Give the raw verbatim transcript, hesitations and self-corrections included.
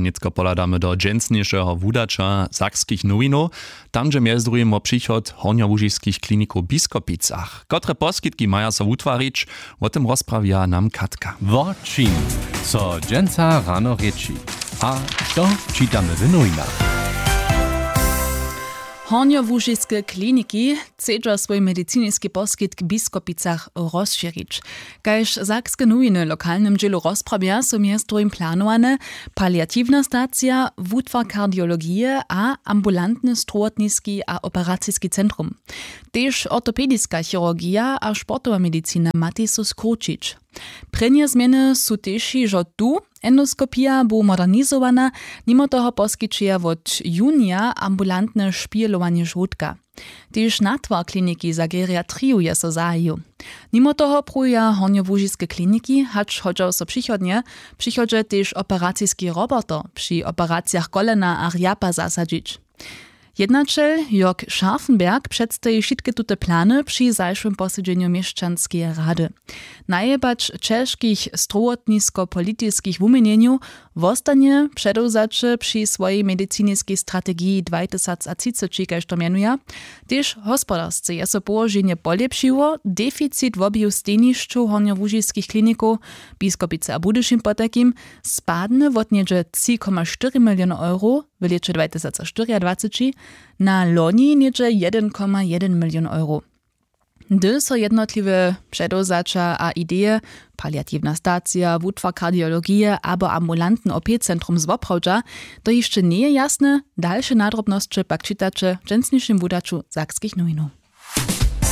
Nětko pohladamy do dźensnišeho wudaća sakskich nowinow. Tam dźe mjez druhim wo přichod hornjołužiskich klinikow w Biskopicach. Kotre poskitki maja so wutwarić, wo tym rozprawja nam Katka. Wo čim, co dźensa rano rěči, a što čitamy w nowinach? Hornjołužiske kliniki chcedźa swój mediciniski poskitk w Biskopicach rozšěrić. Kaž sakske nowiny w lokalnym dźělu rozprawja, su mjez druhim planowane paliatiwna stacija, wutwar kardiologije a ambulantny strowotniski a operaciski centrum. Tež ortopediska chirurgija a sportowa medicina matej so skrućić. Prěnje změny su tež hižo tu. Endoskopija bu modernizowana. Nimo toho poskićeja wot junija ambulantne špihelowanje žołdka. Tež natwar kliniki za geriatriju je so zahajił. Nimo toho pruwja hornjołužiske kliniki, hač hodźa so přichodnje, přichodźe tež operaciski roboter při operacijach kolena a rjapa zasadźić. Jednaćel Jörg Scharfenberg předstaji wšitke tute plany při zašłym posedźenju měšćanskeje rady. Najebać ćežkich strowotniskopolitiskich wuměnjenjow wostanje předewzaće při swojej mediciniskej strategiji dwatysacatřiceći, kaž to mjenuja. Tež hospodarsce je so połoženje polěpšiło. Deficit wobiju stejnišćow hornjołužiskich klinikow, Biskopicy a Budyšin potajkim, spadny wot něhdźe tři koma štyri miliony euro w lěće dwatysacštyriadwaceći na loni něhdźe jedyn koma jedyn milion euro. Hdy so jednotliwe předewzaća a ideje, paliatiwna stacija, wutwar kardiologije abo ambulantny opecentrum zwoprawdźa, to hišće njeje jasne. Dalše nadrobnosće pak čitaće w dźensnišim wudaću sakskich nowinow.